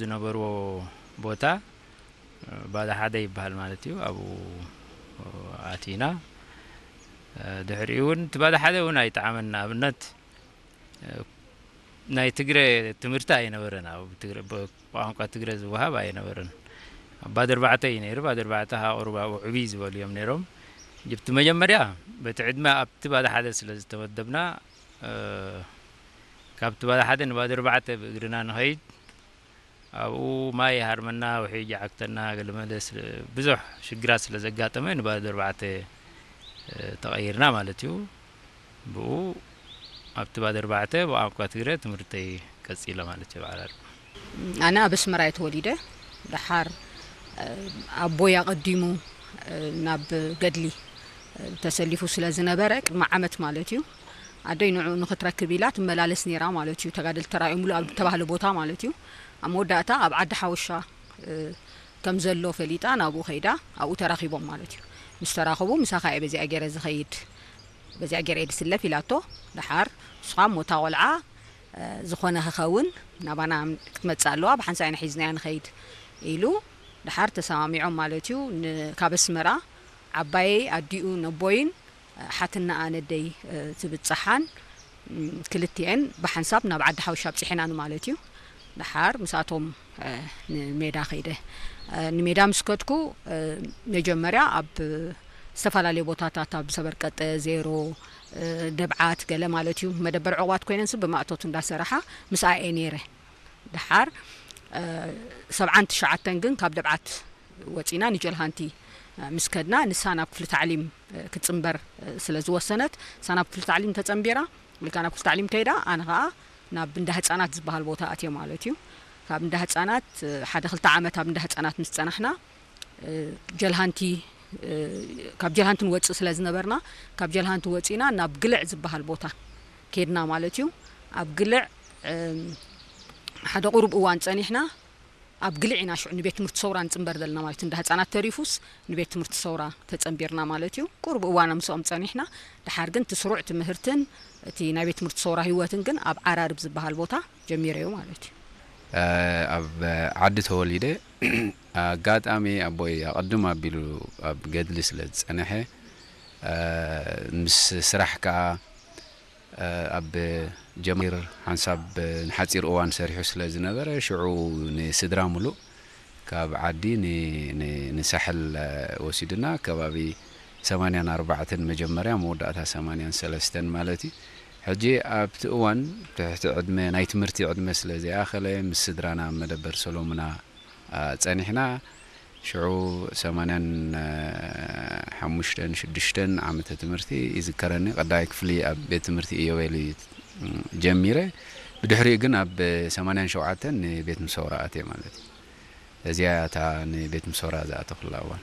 ዝነበርዎ ቦታ ባዳ ሓደ ይበሃል ማለት እዩ። ኣብኡ ኣቲና። ድሕሪኡ እውን እቲ ባዳ ሓደ እውን ኣይጠዓመን። ንኣብነት ናይ ትግረ ትምህርቲ ኣይነበረን። ኣብ ትግረ ብቋንቋ ትግረ ዝወሃብ ኣይነበረን። ኣብ ባዶ ኣርባዕተ እዩ ነይሩ። ባዶ ኣርባዕተ ሃ ቁሩብ ኣብኡ ዕብይ ዝበሉ እዮም ነይሮም። እቲ መጀመርያ በቲ ዕድመ ኣብቲ ባዶ ሓደ ስለ ዝተመደብና፣ ካብቲ ባዶ ሓደ ንባዶ ኣርባዕተ ብእግርና ንኸይድ፣ ኣብኡ ማይ ይሃርመና፣ ውሒጅ ይዓግተና፣ ገለመለ ብዙሕ ሽግራት ስለ ዘጋጠመ ንባዶ ኣርባዕተ ተቐይርና ማለት እዩ። ብኡ ኣብቲ ባዶ ኣርባዕተ ብቋንቋ ትግረ ትምህርተይ ቀጺለ ማለት እዩ። በዓል ኣነ ኣብ ኣስመራ እየ ተወሊደ። ደሓር ኣቦይ ኣቐዲሙ ናብ ገድሊ ተሰሊፉ ስለ ዝነበረ፣ ቅድሚ ዓመት ማለት እዩ፣ ኣደይ ንዑ ንኽትረክብ ኢላ ትመላለስ ነይራ ማለት እዩ። ተጋደልቲ ተራእዮምሉ ኣብ ዝተባህለ ቦታ ማለት እዩ። ኣብ መወዳእታ ኣብ ዓዲ ሓወሻ ከም ዘሎ ፈሊጣ ናብኡ ከይዳ ኣብኡ ተራኺቦም ማለት እዩ። ምስ ተራኸቡ፣ "ምሳኻ እየ በዚኣ ገይረ ዝኸይድ፣ በዚኣ ገይረ እየ ዝስለፍ" ኢላቶ። ደሓር ንስኻ እሞ እታ ቆልዓ ዝኾነ ክኸውን ናባና ክትመጽእ ኣለዋ፣ ብሓንሳእ ኢና ሒዝናያ ንኸይድ ኢሉ፣ ደሓር ተሰማሚዖም ማለት እዩ። ን-፣ ካብ ኣስመራ ዓባየይ ኣዲኡ ነቦይን ሓትናኣ ነደይ ትብጽሓን፣ ክልቲኤን ብሓንሳብ ናብ ዓዲ ሓውሻ ኣብጺሐናን ማለት እዩ። ደሓር ምስኣቶም ንሜዳ ከይደ። ንሜዳ ምስ ከድኩ፣ መጀመርያ ኣብ ዝተፈላለዩ ቦታታት፣ ኣብ ሰበርቀጠ፣ ዜሮ፣ ደብዓት ገለ ማለት እዩ፣ መደበር ዕቑባት ኮይነን ስብ ብማእቶት እንዳሰራሓ ምስኣ እየ ነይረ። ደሓር ሰብዓን ትሽዓተን ግን ካብ ደብዓት ወጺና ንጀልሃንቲ ምስ ከድና፣ ንሳ ናብ ክፍሊ ታዕሊም ክትጽንበር ስለ ዝወሰነት፣ ንሳ ናብ ክፍሊ ታዕሊም ተጸንቢራ፣ ኢልካ ናብ ክፍሊ ታዕሊም ከይዳ፣ ኣነ ኸኣ ናብ እንዳ ህጻናት ዝበሃል ቦታ ኣትየ ማለት እዩ። ካብ እንዳ ህጻናት ሓደ ክልተ ዓመት ኣብ እንዳ ህጻናት ምስ ጸናሕና፣ ጀልሃንቲ፣ ካብ ጀልሃንቲ ንወጽእ ስለ ዝነበርና፣ ካብ ጀልሃንቲ ወጺና ናብ ግልዕ ዝበሃል ቦታ ከድና ማለት እዩ። ኣብ ግልዕ ሓደ ቁሩብ እዋን ጸኒሕና፣ ኣብ ግልዕ ኢና ሽዑ ንቤት ትምህርቲ ሰውራ ንጽንበር ዘለና ማለት እዩ። እንዳ ህጻናት ተሪፉስ ንቤት ትምህርቲ ሰውራ ተጸንቢርና ማለት እዩ። ቁሩብ እዋን ምስኦም ጸኒሕና፣ ደሓር ግን እቲ ስሩዕ ትምህርትን እቲ ናይ ቤት ትምህርቲ ሰውራ ህይወትን ግን ኣብ ዓራርብ ዝበሃል ቦታ ጀሚረዮ ማለት እዩ። ኣብ ዓዲ ተወሊደ፣ ኣጋጣሚ ኣቦይ ኣቐድም ኣቢሉ ኣብ ገድሊ ስለ ዝጸንሐ፣ ምስ ስራሕ ከኣ ኣብ ጀማሂር ሓንሳብ ንሓጺር እዋን ሰሪሑ ስለ ዝነበረ፣ ሽዑ ንስድራ ምሉእ ካብ ዓዲ ን-፣ ን-፣ ንሳሕል ወሲዱና፣ ከባቢ ሰማንያን ኣርባዕተን መጀመርያ፣ መወዳእታ ሰማንያን ሰለስተን ማለት እዩ። ሕጂ ኣብቲ እዋን ትሕቲ ዕድመ፣ ናይ ትምህርቲ ዕድመ ስለ ዘይኣኸለ፣ ምስ ስድራና ኣብ መደበር ሰሎሙና ጸኒሕና። ሽዑ ሰማንያን ሓሙሽተን ሽዱሽተን ዓመተ ትምህርቲ ይዝከረኒ። ቀዳማይ ክፍሊ ኣብ ቤት ትምህርቲ ኢዮቤል እዩ ጀሚረ። ብድሕሪኡ ግን ኣብ ሰማንያን ሸውዓተን ንቤት ምሰውራ ኣትየ ማለት እዩ። እዚኣ እታ ንቤት ምሰውራ ዝኣተኹላ እዋን።